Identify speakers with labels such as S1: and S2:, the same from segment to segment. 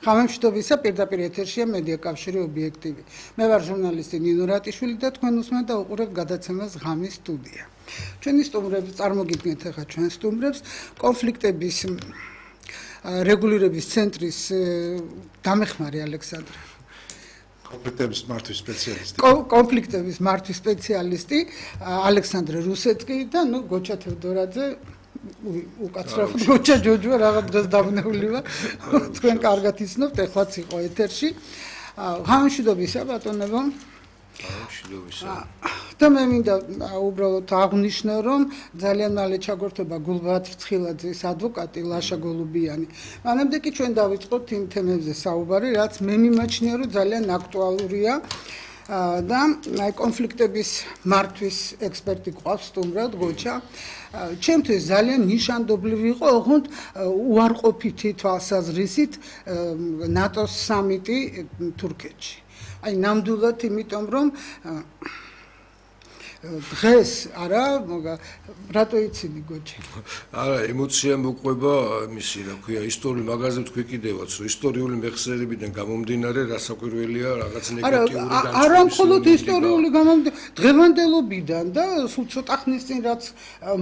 S1: ღამემშვიდობისა პირდაპირ ეთერშია მედია კავშირი ობიექტივი. მე ვარ ჟურნალისტი ნინო რატიშვილი და თქვენ უსმენთ და უყურებთ გადაცემას ღამის სტუდია. ჩვენი სტუმრები წარმოგიდგენთ ახლა ჩვენ სტუმრებს კონფლიქტების რეგულირების ცენტრის დამეხმარე ალექსანდრე.
S2: კონფლიქტების მართვის სპეციალისტი.
S1: კონფლიქტების მართვის სპეციალისტი ალექსანდრე რუსეთკი და გოჩა თევდორაძე უკაცრავ გოჩა ჯოჯო რაღაც დროს დაბნეული ვარ. თქვენ კარგად იცნობთ, ეხლაც იყო ეთერში. ღამემშვიდობისა ბატონებო.
S2: ღამემშვიდობისა.
S1: და მე მინდა უბრალოდ აღვნიშნო, რომ ძალიან მალე ჩაგვერთვება გულბაათ რცხილაძის ადვოკატი ლაშა გოლუბიანი. მანამდე კი ჩვენ დავიწყოთ იმ თემებზე საუბარი, რაც მე მიმაჩნია, რომ ძალიან აქტუალურია. და აი კონფლიქტების მართვის ექსპერტი ყავს სტუმრად გოჩა. ჩემთვის ძალიან ნიშანდობლივი იყო ოღონდ უარყოფითი თვალსაზრისით ნატოს სამიტი თურქეთში. აი ნამდვილად იმიტომ რომ დღეს არა რატო იცინი გოჩა?
S3: არა, ემოცია მოყვება მისი, რა ქვია, ისტორიული მაგაზე თქვი კიდევაც, რომ ისტორიული მეხსიერებიდან გამომდინარე რასაკვირველია რაღაც ნეგატიური განწყობი.
S1: არა მხოლოდ ისტორიული დღევანდელობიდან და სულ ცოტა ხნის წინ რაც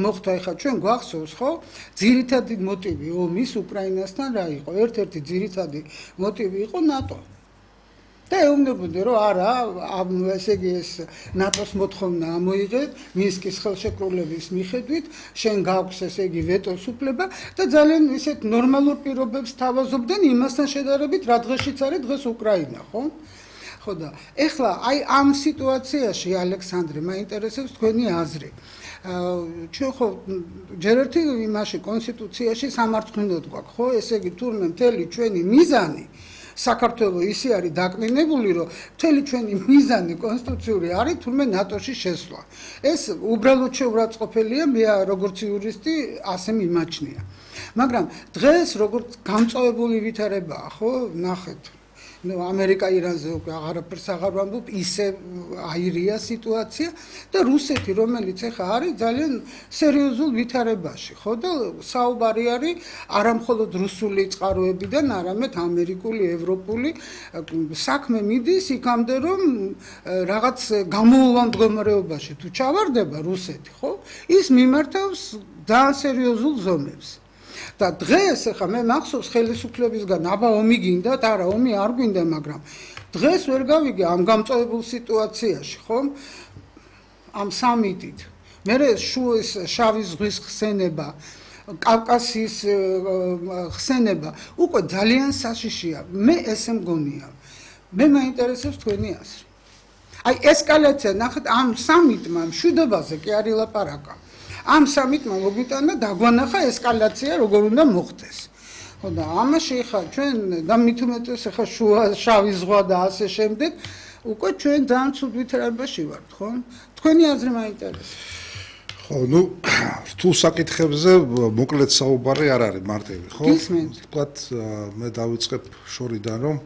S1: მოხდა ახლა ჩვენ გვახსოვს, ხო? ძირითადი მოტივი ომის უკრაინასთან რა იყო? ერთ-ერთი ძირითადი მოტივი იყო ნატო. და ეუბნებოდნენ, რომ არა, ესე იგი ეს ნატოს მოთხოვნა ამოიღეთ მინსკის ხელშეკრულების მიხედვით, შენ გაქვს ესე იგი ვეტოს უფლება და ძალიან ისეთ ნორმალურ პირობებს თავაზობდნენ იმასთან შედარებით, რა დღეშიც არის დღეს უკრაინა, ხო? ხო და ეხლა აი ამ სიტუაციაში ალექსანდრე მაინტერესებს თქვენი აზრი. ჩვენ ხო ჯერ ერთი იმაში კონსტიტუციაში სამარცხვინოდ გვაქვს, ხო? ესე იგი თურმე მთელი ჩვენი მიზანი საქართველოს ისე არის დაკნინებული, რომ მთელი ჩვენი მიზანი კონსტიტუციური არის თურმე ნატოში შესვლა. ეს უბრალოდ შეურაცხყოფელია, მე როგორც იურისტი ასე მიმაჩნია. მაგრამ დღეს როგორც გამწვავებული ვითარებაა, ხო, ნახეთ. ამერიკა ირანზე უკვე აღარაფერს აღარ ვამბობ, ისე აირია სიტუაცია და რუსეთი, რომელიც ახლა არის ძალიან სერიოზულ ვითარებაში, ხო და საუბარი არის არა მხოლოდ რუსული წყაროებიდან, არამედ ამერიკული, ევროპული საქმე მიდის იქამდე, რომ რაღაც გამოუვალ მდგომარეობაში თუ ჩავარდება რუსეთი, ხო? ის მიმართავს ძალიან სერიოზულ ზომებს. და დღეს ახლა მე მახსოვს ხელისუფლებისგან აბა ომი გინდათ, არა ომი არ გვინდა, მაგრამ დღეს ვერ გავიგე ამ გამწვავებულ სიტუაციაში, ხო? ამ სამიტით. მე შავი ზღვის ხსენება, კავკასიის ხსენება უკვე ძალიან საშიშია. მე ესე მგონია. მე მაინტერესებს თქვენი აზრი. აი ესკალაცია, ნახეთ, ამ სამიტმა მშვიდობაზე კი არ ილაპარაკა. ამ სამიტმა მოგვიტანა დაგვანახა ესკალაცია როგორ უნდა მოხდეს. ხო და ამაში ხა ჩვენ და მით უმეტეს ხა შავი ზღვა და ასე შემდეგ უკვე ჩვენ ძალიან ცუდ ვითარებაში ვართ, ხო? თქვენი აზრი მაინტერესებს.
S2: ხო, ნუ რთულ საკითხებზე მოკლედ საუბარი არ არის მარტივი, ხო? ვთქვათ, მე დავიწყებ შორიდან, რომ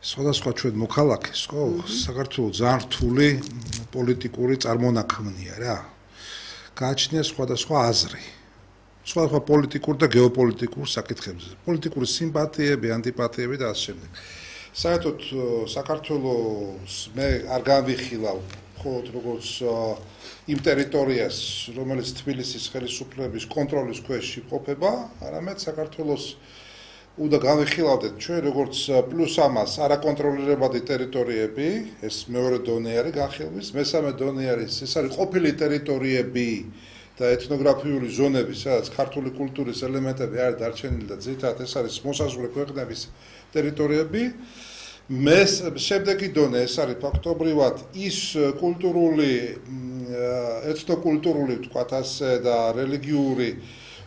S2: სხვადასხვა ჩვენ მოქალაქეს, ხო, საქართველოს ძალიან რთული პოლიტიკური წარმონაქმნია რა. გააჩნია სხვადასხვა აზრი. სხვადასხვა პოლიტიკურ და გეოპოლიტიკურ საკითხებზე. პოლიტიკური სიმპათიები, ანტიპათიები და ასე შემდეგ. საერთოდ საქართველოს მე არ განვიხილავ მხოლოდ როგორც იმ ტერიტორიას, რომელიც თბილისის ხელისუფლების კონტროლის ქვეშ იმყოფება, არამედ საქართველოს უნდა განვიხილავდეთ ჩვენ როგორც პლუს ამას არაკონტროლირებადი ტერიტორიები, ეს მეორე დონე არის განხილვის, მესამე დონე არის, ეს არის ყოფილი ტერიტორიები და ეთნოგრაფიული ზონები, სადაც ქართული კულტურის ელემენტები არის დარჩენილი და ძირითადად ეს არის მოსაზღვრე ქვეყნების ტერიტორიები. შემდეგი დონე ეს არის ფაქტობრივად ის კულტურული, ეთნოკულტურული, ვთქვათ ასე და რელიგიური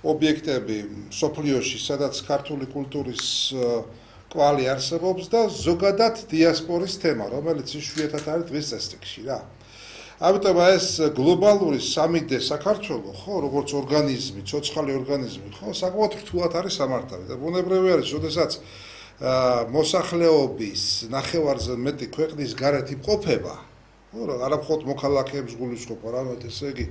S2: ობიექტები სოფლიოში, სადაც ქართული კულტურის კვალი არსებობს და ზოგადად დიასპორის თემა, რომელიც იშვიათად არის დღის წესრიგში რა. ამიტომ ეს გლობალური სამიტი საქართველოს, ხო, როგორც ორგანიზმი, ცოცხალი ორგანიზმი, ხო, საკმაოდ რთულად არის სამართავი და ბუნებრივი არის, როდესაც მოსახლეობის ნახევარზე მეტი ქვეყნის გარეთ იმყოფება, ხო, არა მხოლოდ მოქალაქეებს გულისხმობ, არამედ ესე იგი